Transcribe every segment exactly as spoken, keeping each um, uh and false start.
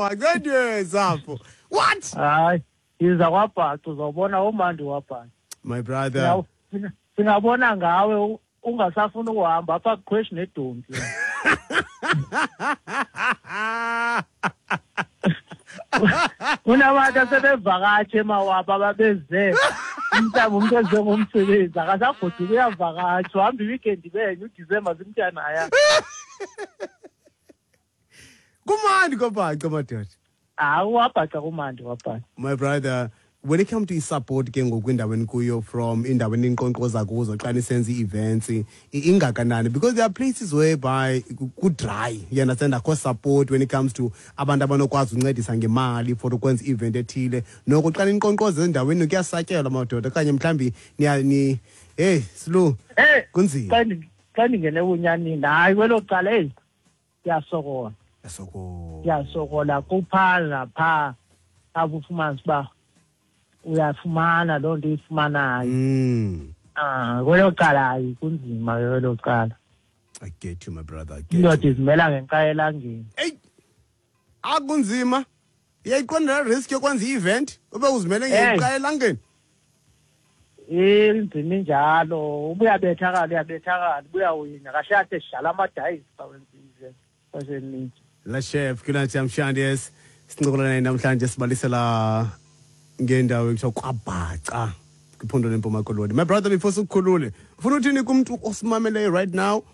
kwaBhaca ndiyezapho. What? Hayi, iza kwaBhaca uzawubona umandi waBhaca. My brother. Singabona ngawe ungasafuna ukuhamba apha kuqhweshi nedonki. Kunabantu asebevakatshe emawabo ababeze umntana umuntu eze ngomsebenzi akasagoduka uyavakatsha uhamba iweekend benye uDisemba simntanaya. Kumandi kwaBhaca madoda. Hayi waBhaca kumandi kwaBhaca. My brother, when it comes to support ke ngoku endaweni kuyo from indaweni inkqonkqoza kuzo xa nisenza ii-events ingakanani, because there are places whereby ku-dry, you understand, akho support when it comes to abantu abanokwazi uncedisa ngemali for ukwenza i-event ethile. Noko xa ninkqonkqoza ezindaweni kuyasatyelwa madoda okanye mhlawumbi ni hey Slu kunzima. Xa ndingene ebunyanini hayi kwelo cala eyi kuyasokola. Kuyasokola. Kuyasokola kuphaa naphaa apho ufumanisa uba uyafumana loo nto uyifumanayo. Mm. Ah, kwelo cala hayi kunzima kwelo cala. I get you my brother. I get indoda you. Izimela ngenxa elangeni. Hey. Akunzima. Iyayiqonda risk yokwenza i-event ube uzimele ngenxa elangeni. Inzima injalo, ubuyabethakala uyabethakala, ubuyawina kahle kahle sidlala amadayisi xa wenza i-event. Kwaseninzi. La chef kunathi namhlanje sincokola naye namhlanje sibalisela ngendawo ekuthiwa kwaBhaca kwiphondo leMpuma Koloni. My brother, before sikukhulule, ufuna uthini kumntu osimameleyo right now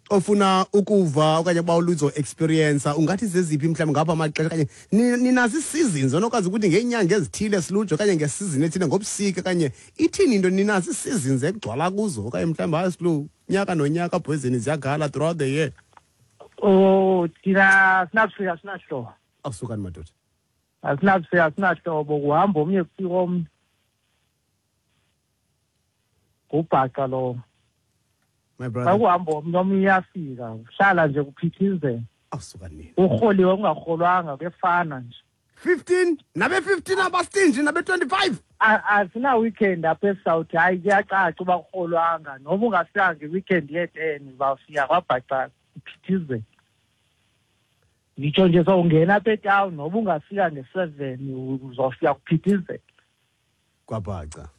ofuna ukuva okanye uba uluzo experience, ungathi zeziphi mhlawumbi ngapha amaxesha okanye ninazo ii-seasons onokwazi ukuthi ngeenyanga ezithile silujo okanye ngesizini ethile ngobusika okanye ithini into, ninazo ii-seasons ekugcwala kuzo okanye mhlawumbi hayi Silu nyaka nonyaka bhozeni ziyagala throughout the year? Oh, thina sinabusika sinahlobo. Awusukani madoda. Asinabusika sinahlobo, kuhamba omnye kufika omnye. Ngubhaca lowo. My brother. Akuhamba omnye omnye uyafika, uhlala nje kuphithizela. Awusukani. Urholiwe ungarholwanga kuyefana nje. fifteen nabe fifteen abastinji nabe twenty-five. Asina weekend apha eSouth, hayi kuyacaca uba kurholwanga noba ungafika nge-weekend ye-ten uzawufika kwaBhaca kuphithizela. Ngitsho nje sowungena apha etown noba ungafika nge-seven uzofika kuphithizela. KwaBhaca.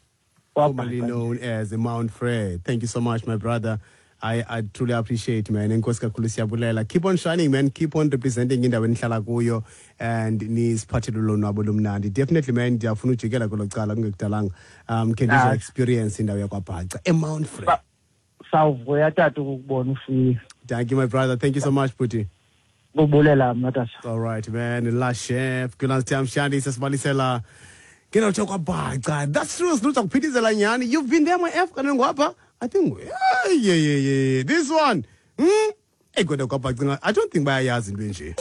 Formerly known as Mount Frere. Thank you so much, my brother. I, I truly appreciate, man. Enkosi kakhulu siyabulela. Keep on shining, man. Keep on representing indawo enihlala kuyo and nisiphathele ulonwabo lomnandi. Definitely, man, ndiyafuna ujikela kwelo cala kungekudalanga. Um, khe ndizo experience indawo yakwaBhaca eMount Frere. Sawuvuya tata ukukubona ufika. Thank you, my brother. Thank you so much, Puti. Kubulela mna tata. All right, man. La chef, Kulansi Mshandi sesibalisela. Kena kwaBhaca. That's true. Siluza kuphithizela nyani. You've been there, my F. Kanti ngwapha. I think yeah, yeah, yeah, yeah. This one. Hmm? Hey, kodwa kwaBhaca. I don't think bayayazi into enje.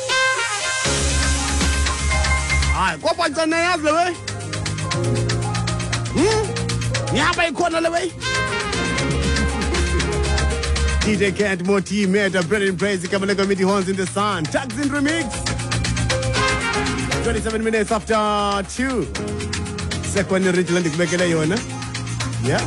Hayi, kwaBhaca nayazi le way. Hmm? Nihamba ikhona le way. D J Kent, Moti, Meta, Brendan Praise, Kamaleko, Midi Horns in the Sun. Tags in Remix. twenty-seven minutes after two. Second original ndikubekele yona. Yeah.